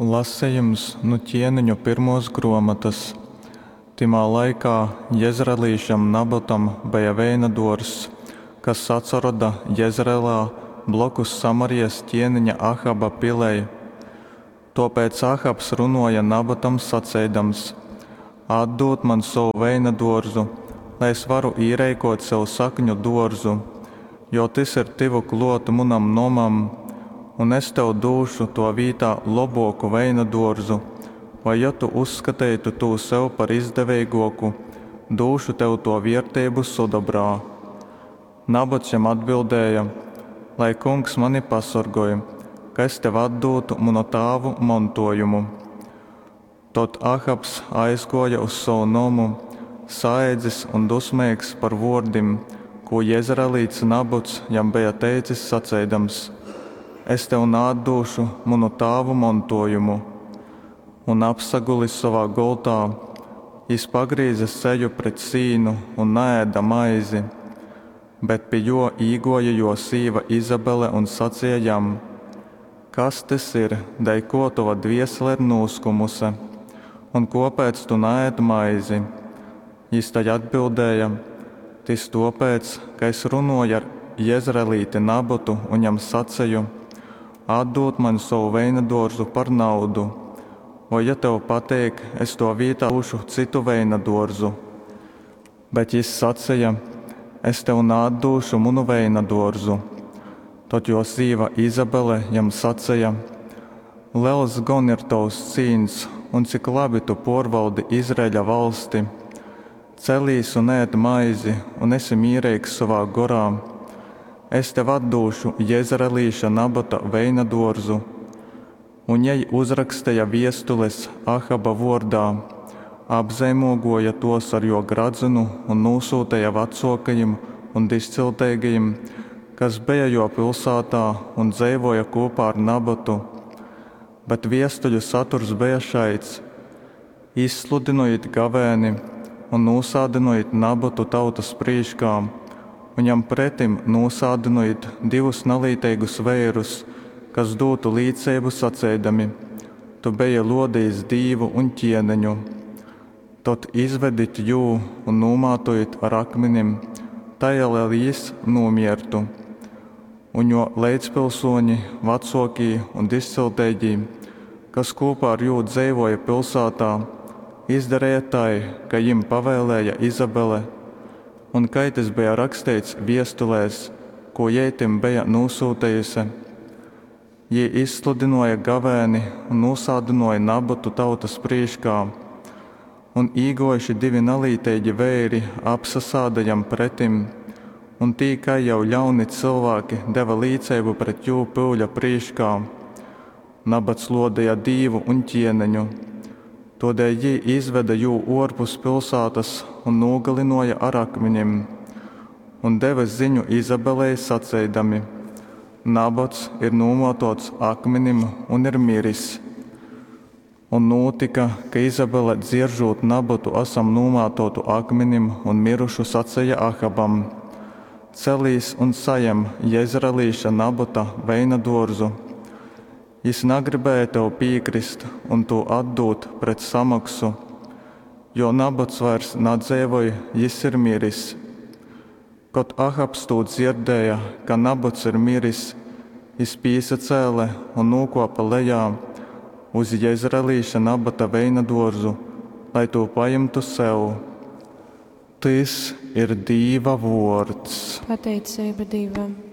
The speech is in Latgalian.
Lasejums nu Ķieneņu pyrmuos gruomotys. Tymā laikā jezreelīšam Nabotam beja veina duorzs, kas atsaroda Jezreelā blokus Samarijas ķieniņa Ahaba pilei. Tōpēc Ahabs runōja Nabotam saceidams, Atdūd maņ sovu veinaduorzu, lai es varu īreikōt sev sakņu dōrzu, jo tys ir tyvu klōt munam nomam, un es tev dūšu tō vītā lobōku veinadōrzu, vai, jo tu uzskateitu tū sev par izdeveigōku, dūšu tev tō vierteibu sudobrā. Nabots jam atbildēja, Lai Kungs mani pasorgoj, ka es tev atdūtu munu tāvu montōjumu! Tod Ahabs aizgōja uz sovu nomu, saedzis un dusmeigs par vōrdim, kū jezreelīts Nabots jam beja teicis saceidams, Es tev naatdūšu munu tāvu montōjumu. Un, apsagulis sovā gultā, jys pagrīze seju pret sīnu un naēde maizi. Bet pi jō īgōja jō sīva Izabele un saceja jam, Kas tys ir, dēļ kō tova dviesele ir nūskumuse, un kōpēc tu naēd maizi? Jys tai atbildēja, Tys tōpēc, ka es runōju ar jezreelīti Nabotu un jam saceju, Atdūd maņ sovu veinadōrzu par naudu, voi, jo tev pateik, es tō vītā dūšu cytu veinadōrzu. Bet jys saceja, Es tev naatdūšu munu veinadōrzu. Tod jō sīva Izabele jam saceja, Lels gon ir tovs cīns un cik labi tu pōrvaldi Izraeļa valsti! Celīs un ēd maizi un esi mīreigs sovā gorā. Es tev atdūšu jezreelīša Nabota veinadōrzu. Un jei uzraksteja viestules Ahaba vuordā, apzeimūguoja tuos ar juo gradzynu un nūsūteja vacuokajim un dižcilteigajim, kas beja juo pilsātā un dzeivuoja kūpā ar Nabotu. Bet viestuļu saturs beja šaids, Izsludynojit gavēni un nūsādynojit Nabotu tautas prīškā un jam pretim nūsādynojit divus nalīteigus veirus, kas dūtu līceibu saceidami, Tu beji lōdejis Dīvu un ķieneņu. Tod izvedit jū un nūmātojit ar akminim tai, lai jys nūmiertu. Un jō leidzpilsōņi, vacōkī un dižcilteigī, kas kūpā ar jū dzeivōja pilsātā, izdareja tai, kai jim pavēlēja Izabele un kai tys beja raksteits viestulēs, kū jei tim beja nūsyutejuse. Jī izsludynōja gavēni un nūsādynōja Nabotu tautas prīškā. Un īgōjuši divi nalīteigi veiri apsasāda jam pretim, un tī kai jau ļauni cylvāki deve līceibu pret jū pyuļa prīškā, Nabats lōdeja Dīvu un ķieneņu. Tōdēļ jī izvede jū ōrpus pilsātas un nūgalynōja ar akminim. Un deve ziņu Izabelei saceidami, Nabots ir nūmōtōts akminim un ir miris. Un nūtyka, ka Izabele dzieržūt Nabotu asam nūmātōtu akminim un mirušu saceja Ahabam, Celīs un sajem jezreelīša Nabota veinadōrzu. Jys nagribēja tev pīkrist un tū atdūt pret samoksu, jo Nabots vairs nadzeivoj, jys ir miris. Kod Ahabs tū dzierdēja, ka Nabots ir miris, jys pīsacēle un nūkōpe lejā uz jezreelīša Nabota veinadōrzu, lai tū pajimtu sev. Tys ir Dīva vōrds. Pateiceiba Dīvam.